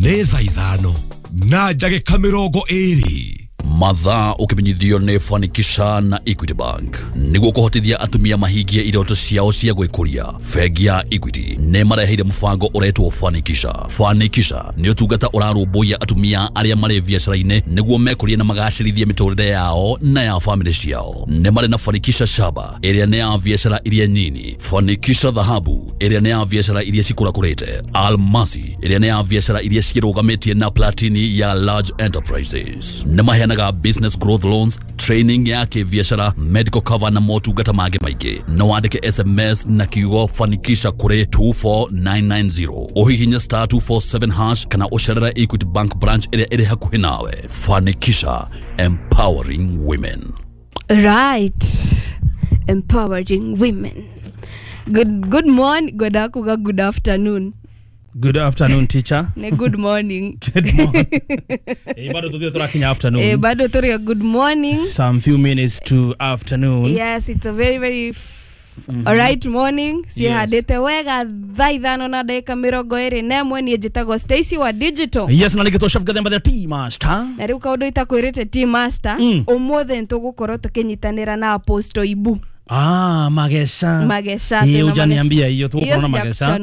Nĩ thaa 5 na ndagĩka 20. Mathaa ũkĩmenyithio nĩ Fanikisha na Equity Bank nĩguo kũhotithia atumia mahingie iroto ciao cia gwĩkũria. Bengi ya Equity nĩ mareheire mũbango ũretwo Fanikisha. Fanikisha nĩ ũtungata ũrarũmbũiya atumia arĩa marĩ biacara-inĩ nĩguo mekũrie na magacĩrithie mĩtũrĩre yao na ya famĩlĩ ciao. Nĩ marĩ na Fanikisha Shaba ĩrĩa nĩ ya biacara iria nyini, Fanikisha Dhahabu ĩrĩa nĩ ya biacara iria cikũrakũrĩte, Almasi ĩrĩa nĩ ya biacara iria ciĩrũgamĩtie na Platini ya large enterprises. Nĩ maheanaga business growth loans, training ya kĩbiacara, medical cover na motungata mangĩ maingĩ. No wandĩke SMS na kiugo Fanikisha kũrĩ 24990, ũhihinye star 247 hash kana ũcerere Equity Bank branch ĩrĩa ĩrĩ hakuhĩ nawe. Fanikisha, empowering women. Right, empowering women. Good morning, good akuga, good afternoon. Good afternoon, teacher. Ne good morning. Good morning. Bado tuthire turakinya afternoon. Bado turi good morning. Some few minutes to afternoon. Yes, it's a very very alright morning. Cihandĩte wega thaa 5 na ndagĩka 21. Niĩ njĩtagwo Stacy wa Digital. Yes, na nĩgĩtwo Chef Gathemba the Tea Master. Na rĩu kaũndũ itakwĩrĩte Tea Master, ũmũthĩ nĩtũgũkorwo tũkĩnyitanĩra na Apostle Ibu. Ah, Magesha. Magesha. Hiyo hujaniambia hiyo, tuko na Magesha.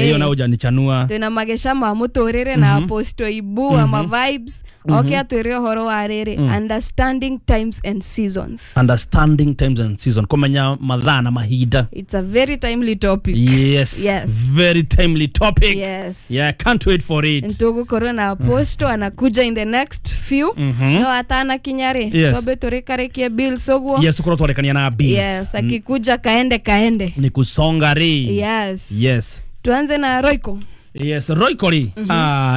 Hiyo na hujanichanua. Twina Magesha ma muturire na Apostle Ibu ama vibes. Okay, atwire uhoro wa riri understanding times and seasons. Understanding times and seasons. Kumenya mathaa na mahinda. It's a very timely topic. Yes. Yes. Very timely topic. Yes. Yeah, can't wait for it. Ntugukorwo na Apostle anakuja in the next few. No atana kinyari. Tobe turikarikie bills uguo. Yes, tukorwo twarekania na bills. Yes, akikuja kaende kaende. Ni kusonga ri. Yes. Yes. Tuanze na Royco. Yes, Royco ri.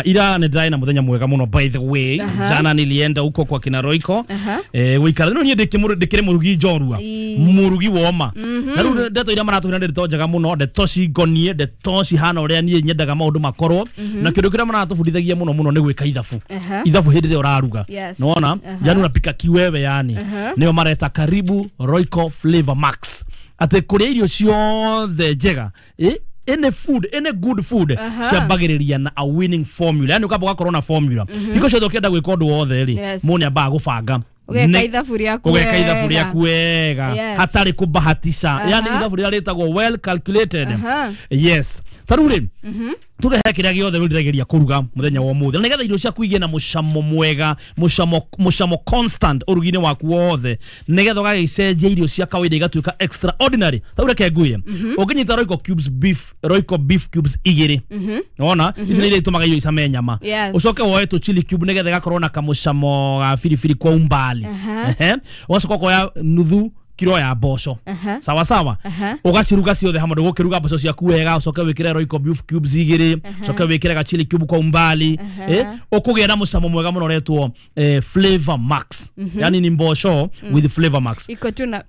Ira nĩ ndĩrarĩ na mũthenya mwega mũno by the way. Jana nilienda huko kwa kina Royco. Wikara no niĩ ndĩkĩrĩ mũrugi njorua. Mũrugi woma. Na rĩu ndeto iria maratwĩra nĩ ndeto njega mũno, ndeto cingonie, ndeto cihana ũrĩa niĩ nyendaga maũndũ makorwo. Na kĩndũ kĩrĩa maratũbundithagia mũno mũno nĩ gwĩka ithabu. Ithabu hĩndĩ ĩrĩa ũraruga. Nĩwona? Yani unapika kiwewe yani. Nĩo mareta karibu Royco Flavor Max. Atĩ kũrĩa irio ciothe njega. Any food, any good food, ciambagĩrĩria na a winning formula. Yani ukamba ũgakorwo na formula. Hingo ciothe ũkĩenda gwĩka ũndũ wothe rĩ, mũndũ nĩambaga gũbanga. Ũgeka ithabu rĩaku wega. Ũgeka ithabu rĩaku wega. Hatarĩ kũbahatisha. Yani ithabu rĩrĩa rĩtagwo well calculated. Yes. Ta rĩu rĩ, tugehe kĩrĩa gĩothe wĩriragĩria kũruga mũthenya wa ũmũthĩ. Na nĩgetha irio ciaku igĩe na mũcamo mwega, mũcamo constant ũrugi-inĩ waku wothe, nĩgetha ũgagĩcenjia irio cia kawaida igatuĩka extraordinary. Ta rĩu reke ngwĩre, ũngĩnyita Royco cubes beef, Royco beef cubes 2. Nĩwona? Ici nĩ iria itũmaga irio icame nyama. Ũcoke woe tũ chili cube nĩgetha ĩgakorwo na kamũcamo ga biribiri kwa umbali. Ũgacoka ũkoya nuthu kiro ya mboco. Sawa sawa. Ugaciruga ciothe hamwe, ndũgũkĩruga mboco ciaku wega, ucoke wĩkĩre Royco beef cubes 2, ucoke wĩkĩre ga chili cube kwa umbali. Ũkũgĩa na mũcamo mwega mũno ũretwo Flavor Max. Yani ni mboco with Flavor Max. Iko tu na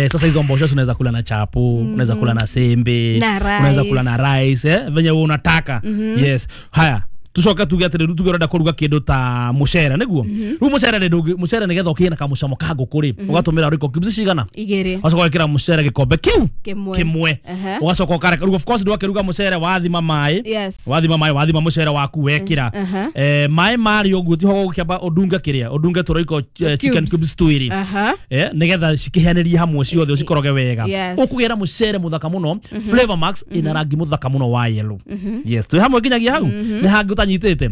sasa hizo mboco unaweza kula na chapo, unaweza kula na sembe, unaweza kula na rice, venye wewe unataka. Yes. Haya. Tucoke tuge atĩrĩ, tuge ũrenda kũruga kĩndũ ta mũcere nĩguo. Rĩu mũcere nĩ mũcere nĩgetha ũkĩgĩe na kamũcamo ka ngũkũ rĩ, ũgatũmĩra Royco cubes cigana? 2. Ũgacoka ũgekĩra mũcere gĩkombe kĩu kĩmwe. Ũgacoka ũkareka. Rĩu of course ndwakĩruga mũcere wathima maĩ. Wathima maĩ, wathima mũcere waku wekĩra. Maĩ marĩ ũguo tiho ũgũkĩamba ũndunge kĩrĩa, ũndunge tũ Royco chicken cubes 2. Nĩgetha cikĩheanĩrie hamwe ciothe ũcikoroge wega. Ũkũgĩa na mũcere mũthaka mũno, Flavor Max ĩna rangi mũthaka mũno wa yellow. Yes, twĩ hamwe nginyagia hau. Nĩ hangĩ ũtanyitĩte.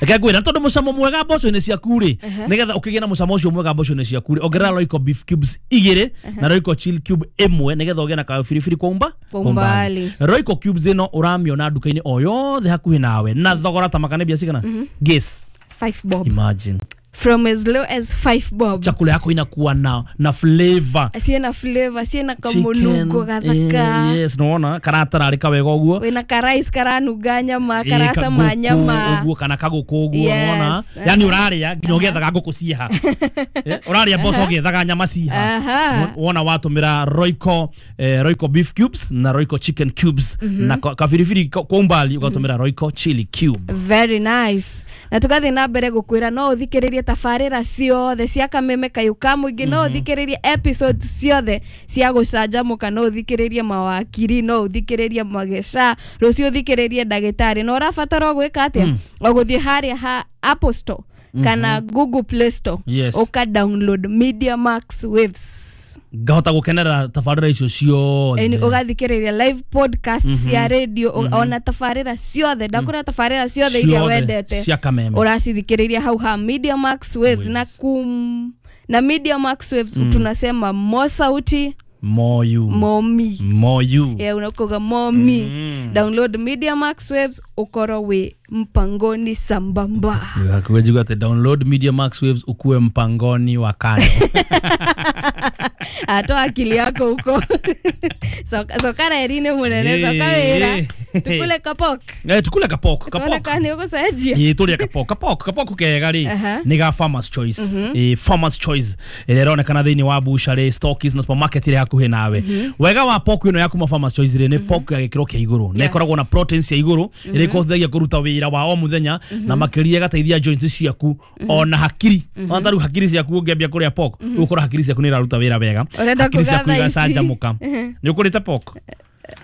Reke ngwĩre, tondũ mũcamo mwega mboco-inĩ ciaku rĩ, nĩgetha ũkĩgĩe na mũcamo ũcio mwega mboco-inĩ ciaku rĩ, ongerera Royco beef cubes 2 na Royco chili cube 1 nĩgetha ũgĩe na kabiribiri kwa umbali. Royco cubes ĩno ũramĩona nduka-inĩ o yothe hakuhĩ nawe na thogora ta makane mbia cigana? Guess. 5 bob. Imagine. From as low as 5 bob. Chakula yako inakuwa na flavor. Siena flavor, siena kamunuko gathaka. Yes, nona karatararika wega uguo. Wena ka rice karanuga nyama, karacama nyama. Uguo kana kaguku uguo nona. Yani uraria nginya ugiethaga nguku ciha. Uraria mboco ugiethaga nyama ciha. Wona watumira Royco, Royco beef cubes na Royco chicken cubes na kabiribiri kwa umbali ugatumira Royco chili cube. Very nice. Na tugathi na mbere gukwira no uthikiririe uthikiririe tabarira ciothe cia Kameme Kayũ ka Mũingĩ, no uthikiririe episodes ciothe cia gũcanjamũka, no uthikiririe mawakiri, no uthikiririe mageca, rũciũ uthikiririe ndagĩtarĩ. Na ũrabatara gwĩka atĩa? O gũthiĩ harĩa ha Apple Store kana Google Play Store, uka download Media Max Waves, ngahota gukenerera tabarira icio ciothe. Ugathikiriria live podcast cia radio, ona tabarira ciothe, ndakura tabarira ciothe iria wendete cia Kameme uracithikiriria hau ha Media Max Waves. Na Media Max Waves tunasema mo sauti mo you mo me mo you. Yeah, unakoga mo me. Download Media Max Waves ukorwo wi mpangoni sambamba. Kuwejiga ati download Media Max Waves ukuwe mpangoni wa kando. Atoa akili yako huko. Sokara erine munene, soka wira. Tukule kapok. Tukule kapok. Kapok. Kani uko sajia. Tulia kapok. Kapok kega ri. Ni ga Farmers Choice. Farmers Choice. Ĩronekana thĩinĩ wa butchery, stockies na supermarket ĩrĩa hakuhĩ nawe. Wega wa pork ĩno ya kuma Farmers Choice rĩ, nĩ pork ya gĩkĩro kĩa igũrũ. Na ĩkoragwo na protein cia igũrũ, ĩrĩa ĩkũhotithagia kũruta wĩra wa o mũthenya na makĩria ĩgateithia joints ciaku ona hakiri. Ona ta rĩu hakiri ciaku ũngĩambia kũrĩa pork, ũgũkora hakiri ciaku nĩ iraruta wĩra wega. Hakiri ciaku igacanjamũka. Nĩ ũkũrĩte pork?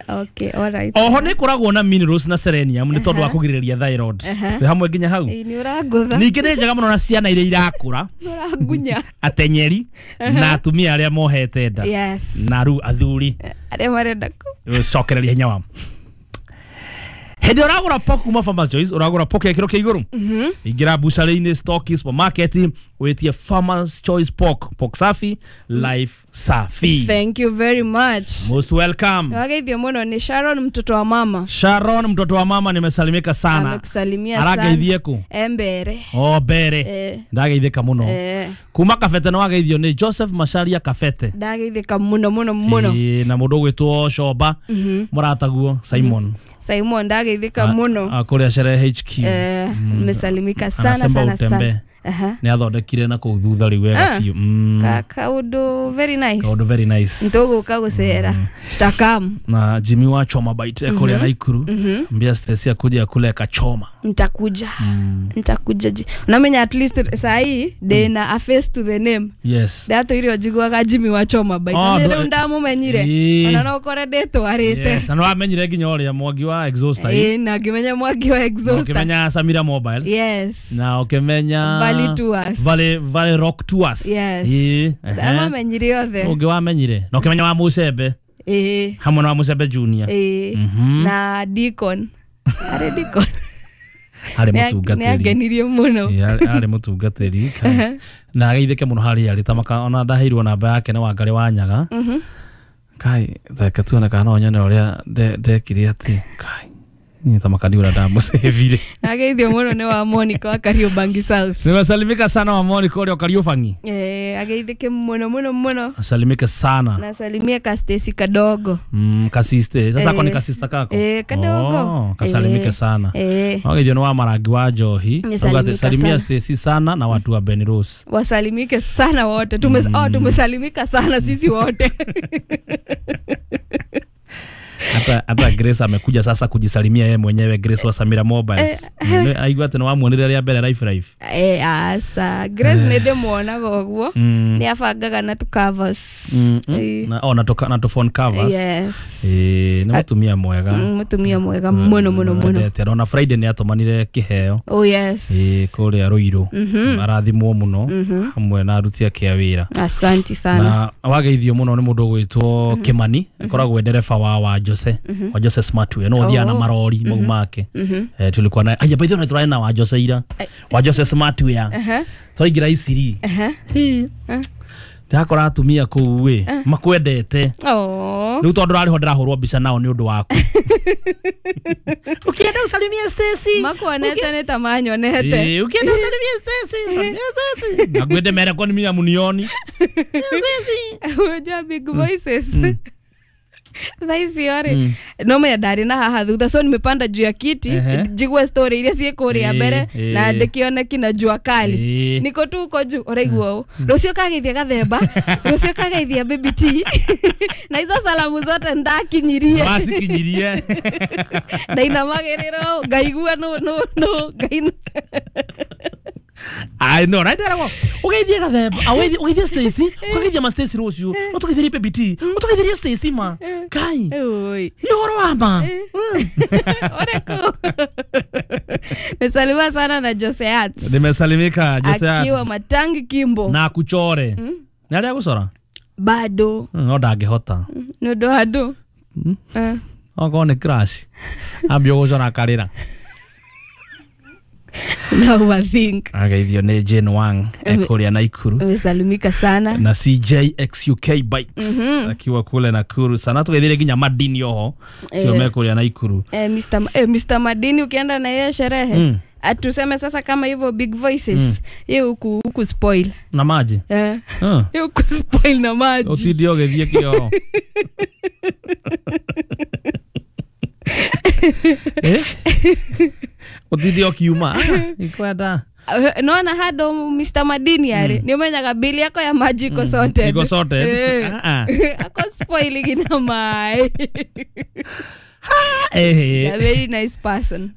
Okay, all right. Oho nĩ ĩkoragwo na minerals na selenium nĩ tondũ wa kũgirĩrĩria thyroid. Twĩ hamwe nginya hau. Nĩ ũrangũtha. Ningĩ nĩ njega mũno na ciana iria irakũra. Nĩ ũrangunya. Atenyeri na atumia arĩa mohete nda. Yes. Na rĩu athuri arĩa marenda gũcokereria hinya wao. Hĩndĩ ũragũra pork kuma Farmers Choice, ũragũra pork ya kĩro kĩa igũrũ. Ingĩra butchery-inĩ, stockies, supermarket, wĩtie Farmers Choice pork, pork safi, life safi. Thank you very much. Most welcome. Wageithio mũno ni Sharon mtoto wa mama. Sharon mtoto wa mama, nimesalimika sana. Amekusalimia sana. Arageithie ku? Embere. Oh, mbere. Ndageithĩka mũno. Kuma Kabete nĩ wageithio nĩ Joseph Macharia Kabete. Ndageithĩka mũno mũno mũno. Na mũndũ ũgwĩtwo Shoba, mũrataguo Simon. Simon ndageithĩka mũno. Kũrĩa Sherehe HQ. Nimesalimika sana sana sana. Nĩ athondekire na kũu thutha rĩu wega biũ. Kaũndũ very nice. Kaũndũ very nice. Nĩtũgũka gũcera. Tutakam. Na Jimmy wa Choma Bite kũrĩa Naikuru. Mbia Stacy akuja kule kachoma. Nitakuja. Nitakuja. Unamenya at least saa hii ndĩna a face to the name. Yes. Ndatũire njiguaga Jimmy wa Choma Bite. Nĩ rĩu ndamumenyire. Ona no ũkore ndĩtwarĩte. Yes, na nĩwamenyire nginya ũrĩa mwangi wa exhauster. Na ngĩmenya mwangi wa exhauster. Ũkĩmenya Samira Mobiles. Yes. Na ũkĩmenya Valley Tours. Valley Rock Tours. Yes. Ndamamenyire othe. Ũngĩ wamenyire. Na ũkĩmenya wa Mucembe. Hamwe na wa Mucembe Junior. Na Deacon. Arĩ Deacon. Arĩ mũtungatĩri. Nĩ angenirie mũno. Arĩ mũtungatĩri. Na ageithĩke mũno harĩa arĩ tamaka ona ndaheirwo namba yake nĩ Wangarĩ wa Nyaga. Kai, reke tuone kana no nyone ũrĩa ndekire atĩ. Kai. Ni tamakani ura ndamũcĩvire. Ageithio mũno nĩ wa Monica wa Kariobangi South. Nimesalimika sana wa Monica ũrĩa Kariobangi. Ageithĩke mũno mũno mũno. Salimike sana. Nasalimia ka Stacy kadogo. Kasiste. Sasa kwa ni kasista kako? Kadogo. Kasalimike sana. Ageithio nĩ wa Marangi wa Njohi. Salimia Stacy sana na watu wa Ben Rose. Wasalimike sana wote. Tumesalimika sana sisi wote. Hata Grace amekuja sasa kujisalimia yeye mwenyewe, Grace wa Samira Mobiles. Aigua tena wamuonire rĩa mbere life. Asa Grace nĩ ndĩmuonaga ũguo. Nĩ abangaga na tu covers. Na na tu phone covers. Yes. Nĩ mũtumia mwega. Mũtumia mwega mũno mũno mũno. Ona Friday nĩ atũmanire kĩheo. Oh yes. Kũrĩa Ruiru. Arathimwo mũno hamwe na aruti ake a wĩra. Asante sana. Na wageithio mũno nĩ mũndũ ũgwĩtwo Kimani, akoragwo ndereba wa Jose. Wa Jose Smartway no thia na marori mau make. Tulikuwa na aya by the way tũrarĩ na wa Jose ira. Wa Jose Smartway. Twaingĩra Isiri. Ndakora atumia kũu ĩ makwendete. Rĩu tondũ rarĩ ho ndĩrahũrwo mbica nao nĩ ũndũ waku. Ukienda usalimie Stacy. Makuonete nĩ ta manyonete. Ukienda usalimie Stacy. Usalimie Stacy. Na gwende mere kwa ni munioni. Unajua big voices. Thaa icio rĩ no menya ndarĩ na haha thutha, so nimepanda juu ya kiti njigue story iria ciĩ kũrĩa mbere na ndĩkĩone kina jua kali niko tu uko juu ũraigua ũũ rũciũ kageithia Gathemba, rũciũ kageithia Baby T na izo salamu zote ndakinyirie wacikinyirie ndainamagĩrĩra ũũ ngaigua no no no ngai. I know right there ugeithie gathemba ugeithie Stacy ukageithia ma Stacy rucio utugeithirie Baby T utugeithirie Stacy ma kai Oi. ni uhoro wa ma Oreko. Nimesalimiwa sana na Joseat. Nimesalimika Joseat Akiwa Matangi Kimbo. Na kuchore ni aria gucora Bado. No ndangihota Nĩ ũndũ wa ndũ. Okorwo nĩ crash ambia gucora akarĩra. Na overthink. Ageithio nĩ Jane Wang ekuria Naikuru. Nimesalimika sana. Na CJXUK Bikes akiwa kule Nakuru sana tugeithire nginya Madini oho cio mekuria Naikuru. Mr. Madini ukienda na yeye sherehe atuseme sasa kama hivyo big voices ye huku spoil na maji ye huku spoil na maji utinde ũgĩthiĩ kĩoro. Utinde ũkiuma ikwenda nona hado Mr. Madini ari ni umenyaga bili yako ya maji iko sorted. Iko sorted. Ako spoil gina mai. A very nice person.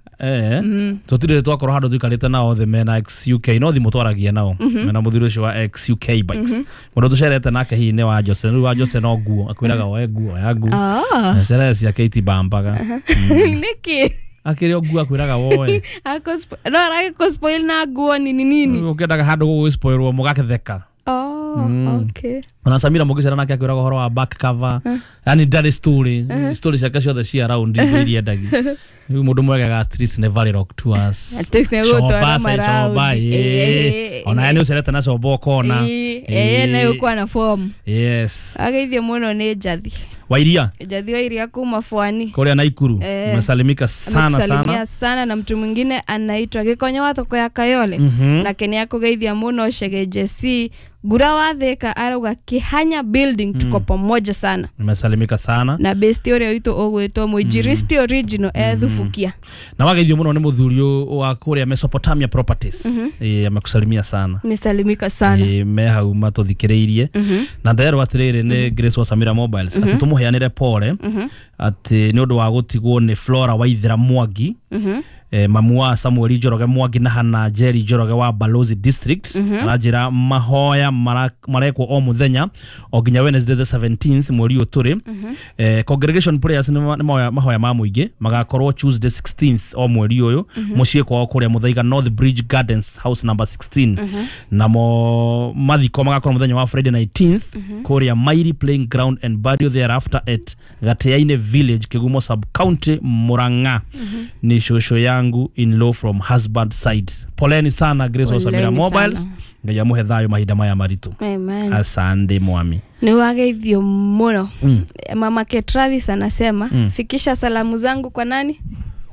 Tutire twakorwo handu tuikarite nao othe mena XUK no thimu twaragia nao mena muthuri ucio wa XUK Bikes mundu tucerete nake hihi ni wa Jose riu wa Jose no nguo akwiraga oe nguo ya nguo na cerehe ciake itibambaga Niki akiri o nguo akwiraga woe ako no aragä spoil na nguo nini nini ukiendaga handu gũgũspoilwo mũgakĩtheka. Okay. Ona Samira mũgĩcera nake akwĩraga ũhoro wa back cover yani ndarĩ story story ciake ciothe cia round indo iria endagia rĩu mũndũ mwegega at least nĩ Valley Rock Tours At least nĩ gũtwara maraundi. Ona ye nĩ ũcerete na coba ũkona nayo ũkwa na form. Yes. Ageithio mũno nĩ Njathi Wairia. Njathi wa Iria kuma Fwani kuria Naikuru. Umesalimika sana sana sana na mtu mwingine anaitwa Gikonyo wa thoko ya Kayole na Kenya kugeithia muno Shege JC Gura wa Thika arauga Kihanya building tuko pamoja sana. Nimesalimika sana na best uria witu ugwitwo Mwinjiristi original ethubukia na wageithio muno ni muthuri wa kuria Mesopotamia Properties. Amekusalimia sana. Nimesalimika sana. Me hau matuthikiriirie na nderwo atiriri ni Grace wa Samira Mobiles ati tumuheanire pole ati ni undu wa gutigwo ni Flora Waithira Mwangi mamu wa Samuel Njoroge Mwangi na Hana Jerry Njoroge wa Balozi District aranjira mahoya marekwo o muthenya o nginya Wednesday the 17th mweri uyu turi. Congregation prayers ni mahoya ma muingi magakorwo Tuesday 16th o mweri uyu mucii kwao kuria Muthaiga North Bridge Gardens house number 16 namo mathiko magakorwo muthenya wa Friday 19th kuria Mairi Playing Ground and burial thereafter at Gateaine Village Kigumo Sub County Murang'a. Ni shosho yangu in law from husband side. Poleni sana Grace wa Samira Mobiles ngai amuhe thayo mahinda maya maritu. Amen. Asante mwami. Ni wageithio muno. Mama ke Travis anasema fikisha salamu zangu kwa nani?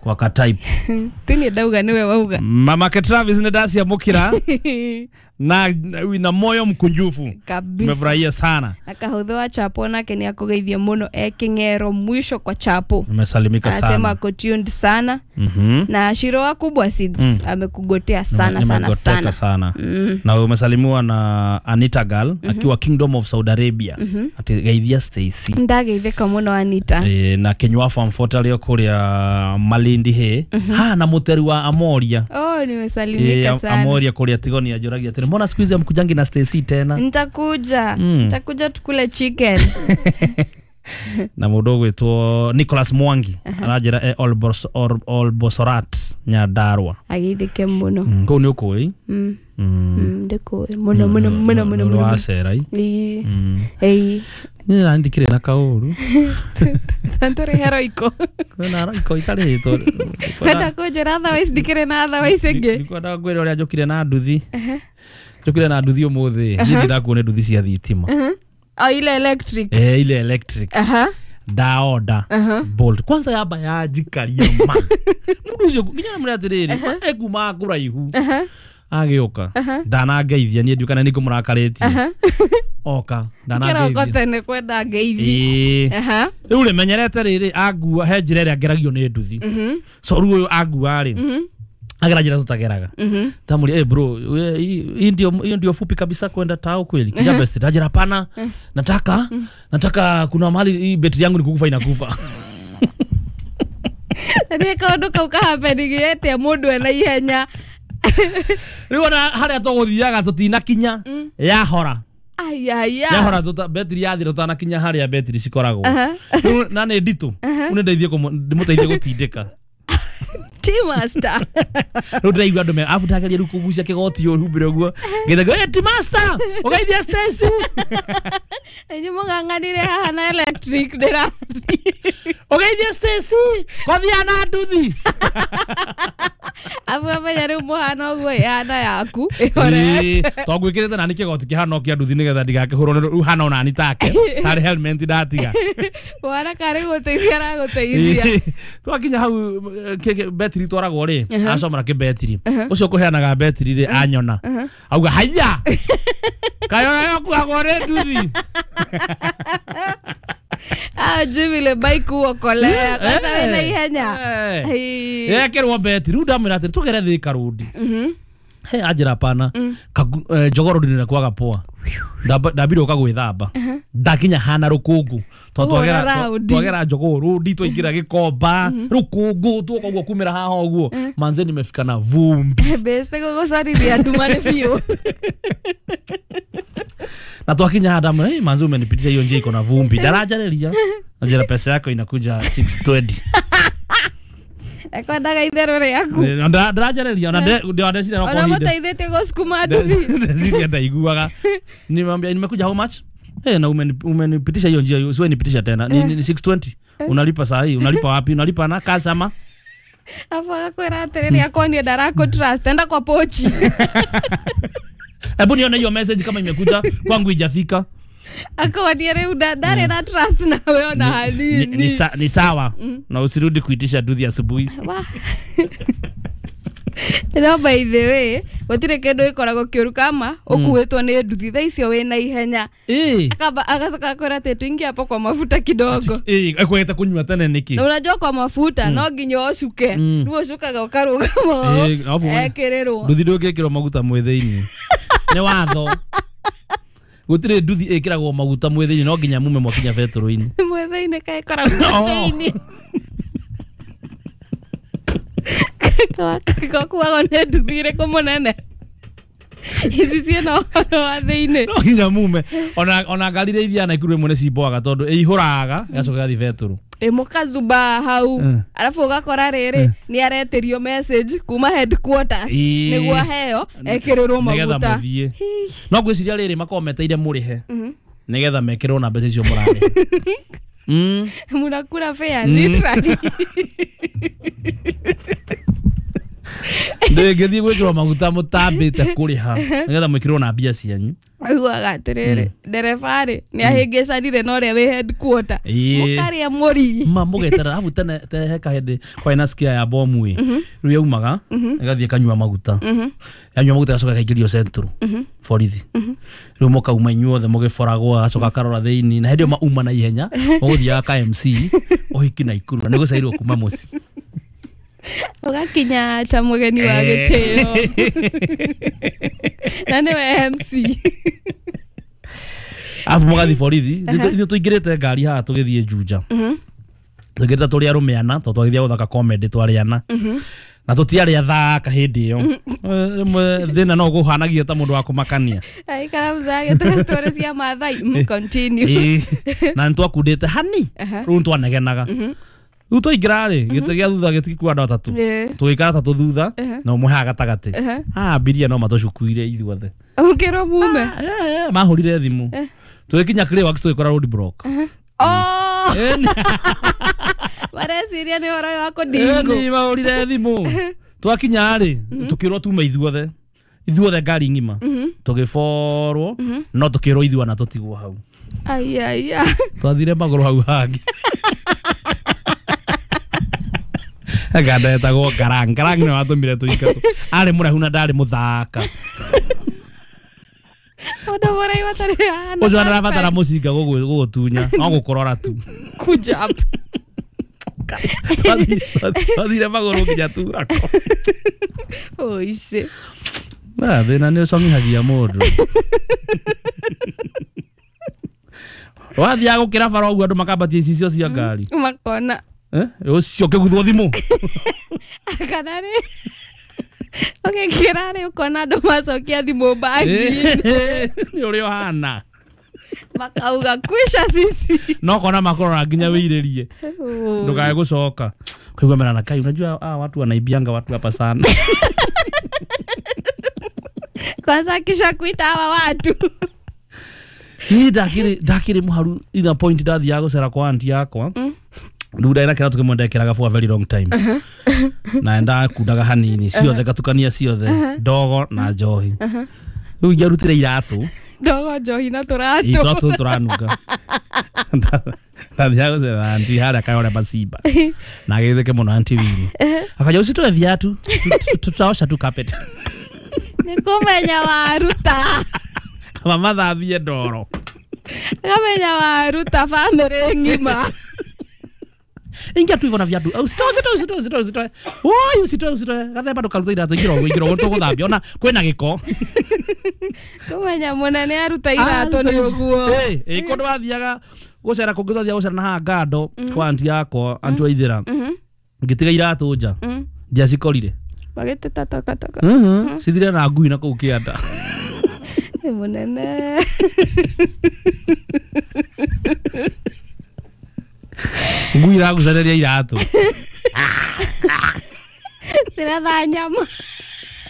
Kwa katype. Tini ndauga niwe wauga. Mama ke Travis ni dacia mukira na moyo mkunjufu kabisa. Nimefurahia sana. Akahutho wa chapo nake ni akugeithia muno ekingero mwisho kwa chapo. Nimesalimika sana. Anasema ako tuned sana. Na Shiro wa Kubwa Seeds amekugotea sana sana sana. Sana. Na umesalimiwa na Anita Girl akiwa Kingdom of Saudi Arabia. Ati geithia Stacy. Ndageitheka muno Anita. Na Kenywa Farm Fort alio kuria Malindi he. Ha na muteri wa Amoria. Oh, nimesalimika sana. Amoria kuria Tigoni ajoragia tena. Mbona siku hizi hamkujangi na Stacy tena? Nitakuja. Nitakuja tukule chicken. Na mundu ugwitwo Nicholas Mwangi aranjira Olbosorat Nyandarua. Ageithike muno. Kuu ni ukui? Ndikui muno muno muno muno muno. Wacerai. Ii. Ni randikire na kauru. Tantore heroiko. Kwina roiko itarĩtwo. Kwenda kunjĩra otherwise ndikĩrĩ na otherwise ĩngĩ. Ndikwenda ngwĩre ũrĩa njũkire na nduthi. Njũkire na nduthi ũmũthĩ. Niĩ ndirakuo nĩ nduthi cia thitima. Oh, ile electric. Ile electric. Ndaoda Bolt. Kwanza yamba yanjikaria ma. Mundu ucio nginya namwĩra atĩrĩrĩ, ekuuma kũraihu. Agĩũka. Ndanangeithia niĩ ndiũ kana nĩ ngũmũrakarĩtie. Oka ndanangeithia. Kĩroko tene kwenda ngeithi. Rĩu rĩ menyerete rĩrĩ angua he njĩra ĩrĩa ngeragio nĩ nduthi. So rĩu ũyũ angua rĩ agera njĩra tutageraga. Ndamũria, bro, hii ndio fupi kabisa kwenda tao kweli. Kija best ndajira hapana. Nataka kuna mahali hii betri yangu nikukufa inakufa. Nĩ kaũndũ kau kahappening atĩa mũndũ ena ihenya. Rĩu ona harĩa tũgũthiaga tũtinakinya yahora. Ayaya. Yahora betiri yathira tũtanakinya harĩa betiri cikoragwo. Rĩu na nĩ nditũ. Rĩu nĩ ndeithie ndĩmũteithie gũtindĩka. T-master. Rĩu ndĩraigua andũ arabu ndageria rĩu kũgucia kĩgoti ũhumbĩre ũguo. Ngĩthaga, "Hey, T-master, ũgeithie Stacy." Inyuĩ mũng'ang'anire haha na electric ndĩrathiĩ. Ũgeithie Stacy, kothia na nduthi. Abu amenya rĩu mũhana ũguo ĩhana yaku. Ĩhorete. To ngwĩkĩrĩte nani kĩgoti kĩhana o kĩa nduthi nĩgetha ndigakĩhũrwo nĩ rĩu hana onani take. Tarĩ helmet ndatiga. Wana karĩ gũteithia aragũteithia. Twakinya hau betiri twaragwo rĩ, acomora kĩbetiri. Ũcio ũkũheanaga betiri rĩ anyona. Auga haiya. Kayo yakuagwo nĩ nduthi. Ah, Jimmy le bike uokolea. Kwanza wĩna ihenya. Yekĩrwo betiri rĩu ndamwĩra atĩrĩ tũgere Thika Road. He anjĩra pana Jogoo Road nĩ kwaga poa. Ndambire ũka gwĩthamba. Ndakinya hana rũkũngũ. Twagera Jogoo Road twaingĩra Gĩkomba rũkũngũ tuoka ũguo kumĩra haha ũguo. Manze nimefika na vumbi. Beste gũgũcorithia nduma nĩ biũ. Na twakinya haha ndamwĩra, "Hey, manze umenipitisha hiyo njia iko na vumbi." Ndarajarĩria. Anjĩra pesa yako inakuja 620. Ekwendaga itherũ rĩaku. Ndarajarĩria ona ndeciria no Ona kwa hinda. mũteithĩtie gũcukuma nduthi. Ndeciria ndaiguaga. Nimwambia nimekuja how much? Eh, na umenipitisha hiyo njia, usiwe nipitisha tena. Ni 620. Unalipa saa hii, unalipa wapi? Unalipa na cash ama? Afu agakwĩra atĩrĩrĩ akonie ndarakũ trust, enda kwa pochi. Hebu nione hiyo message kama imekuja kwangu ijafika. Akonie rĩu ndarĩ na trust nawe ona hanini. Ni sawa. Na usirudi kuitisha nduthi asubuhi. No by the way, gũtirĩ kĩndũ gĩkoragwo kĩũru kama ũkuĩtwo nĩ nduthi thaa icio wĩna ihenya. Agacoka akwĩra atĩ tuingie hapo kwa mafuta kidogo. Ekwete kunyua tene nĩkĩ? Na unajua kwa mafuta no nginya ũcuke. Rĩu ũcukaga ũkarũgama ekĩrĩrwo. Nduthi ndũngĩkĩrwo maguta mwĩ thĩinĩ. Nĩ watho. Gũtirĩ nduthi ĩkĩragwo maguta mwĩ thĩinĩ no nginya mume mwakinya betũrũ-inĩ. Mwĩ thĩinĩ kaĩ ĩkoragwo thĩinĩ. Gakuagwo nĩ nduthi ĩrĩkũ mũnene? Ici ciĩna ũhoro wa thĩinĩ. No nginya mume. Ona ngari iria ithiaga Naikuru rĩmwe nĩ cimboaga tondũ ĩihũraga ĩgacoka ĩgathiĩ betũrũ. Mũkazuba hau. Arabu ũgakora rĩrĩ nĩ aretĩrio message kuma headquarters nĩguo aheo ekĩrĩrwo maguta. Nĩgetha mũthiĩ. No ngwĩciria rĩrĩ makoragwo meteire mũrĩhe nĩgetha mekĩrwo na mbeca icio mũrarĩha. Mũrakura fare literally. Ndĩngĩthiĩ gwĩkĩrwo maguta mũtambĩte kũrĩha nĩgetha mwĩkĩrwo na mbia cianyu. Augaga atĩrĩrĩ ndereba rĩ nĩ ahĩngĩcanire na ũrĩa wĩ headquarter. Mũkarĩa mũri. Ma mũgeterera arabu tene he kahĩndĩ kwarĩ na skia ya bomu ĩ. Rĩu yaumaga ĩgathiĩ ĩkanyua maguta. Yanyua maguta ĩgacoka ĩkaingĩrio central borithi. Rĩu mũkauma inyuothe mũgĩboragwo agacoka akarora thĩinĩ na hĩndĩ ĩyo mauma na ihenya mũgũthiaga ka MC ũhiki Naikuru na nĩgũcairwo kuma mũciĩ. Ũgakinya ta mũgeni wa gĩtĩo. Na nĩwe MC. Arabu mũgathiĩ borithi ithuĩ tũingĩrĩte ngari haha tũgĩthiĩ Juja. Tũingĩrĩte tũrĩ arũme ana tondũ twagĩthiaga gũthaka comedy twarĩ ana. Na tũtiarĩ athaka hĩndĩ ĩyo. Rĩmwe thĩna no ũkũhanagia ta mũndũ wa kũmakania. Aikara mzage story cia Maathai. Continue. Na nĩtwakundĩte hani rĩu nĩtwanegenaga. Rĩu twaingĩra rĩ gĩtĩ gĩa thutha gĩtikua andũ atatũ. Tũgĩikara atatũ thutha na ũmwe haha gatagatĩ. Abiria no matũcukuire ithuothe. Ũkĩrwo mume. Mahũrire thimũ. Tũgĩkinya Clayworks tũgĩkora road block. Oh! Mareciria nĩ ũhoro wa kũndingo. Nĩ mahũrire thimũ. Twakinya rĩ tũkĩrwo tume ithuothe. Ithuothe ngari ng'ima. Tũgĩborwo no tũkĩrwo ithuana tũtigwo hau. Ai. Twathire magũrũ hau hangĩ. Nganda etagwo Ngarang. Ngarang nĩwe watũmire tũingatwo. Arĩ mũraihu na ndarĩ mũthaka. Mũndũ mũraihu atarĩ hana. Ũcio arabatara mũcinga gũgũtunya no gũkũrora tu. Kujump. Twathire magũrũ nginya Turako. Oici. Na thĩna nĩ ũcong'ihagia mũndũ. Wathiaga gũkĩra bara ũguo andũ makambatia icicio cia ngari. Makona. Ũcio ũkĩguthwo thimũ. Kana rĩ Ũgĩkĩra rĩ ũkona andũ macokia thimũ bagi-inĩ. Nĩ ũrĩa ũhana. Makauga kwisha sisi. No kona makorora nginya wĩirĩrie. Ndukae gũcoka. Kaigua merana kai unajua watu wanaibianga watu hapa sana. Kwanza kisha kuita hawa watu. Ni ndakiri muharu ina point ndathiaga gucera kwa auntie yakwa. Rĩu ndarĩ na kĩratũ kĩmwe ndekĩraga for a very long time. Na ndakundaga hanini ciothe ngatukania ciothe ndogo na njohi. Rĩu ingĩarutire iratũ. Ndogo njohi na tũratũ. Iratũ tũranunga. Ndathiaga gũcera na auntie harĩa Kayole Masimba. Na agĩtheke mũno auntie Winnie. Akanja usitoe viatu tutaosha tu carpet. Nĩ kũmenya waruta. Kama mathambie ndoro. Kamenya waruta famĩlĩ ng'ima. Ingia tu hivyo na viatu. Usitoe. Oi, usitoe. Gathemba ndukaruta iratũ ingĩrogwo tũgũthambia ona kwĩna gĩko. Kũmenya mũnene aruta iratũ nĩ ũguo. Kũndũ wathiaga gũcera kũngĩ twathiaga gũcera na haha Ngando kwa auntie yakwa, auntie Waithera. Ngĩtiga iratũ nja. Ndiacikorire. Magĩteta takataka. Cithire na ngui na kũu kĩanda. Mũnene. Ngui iragucanĩria iratũ. Ciretha nyama.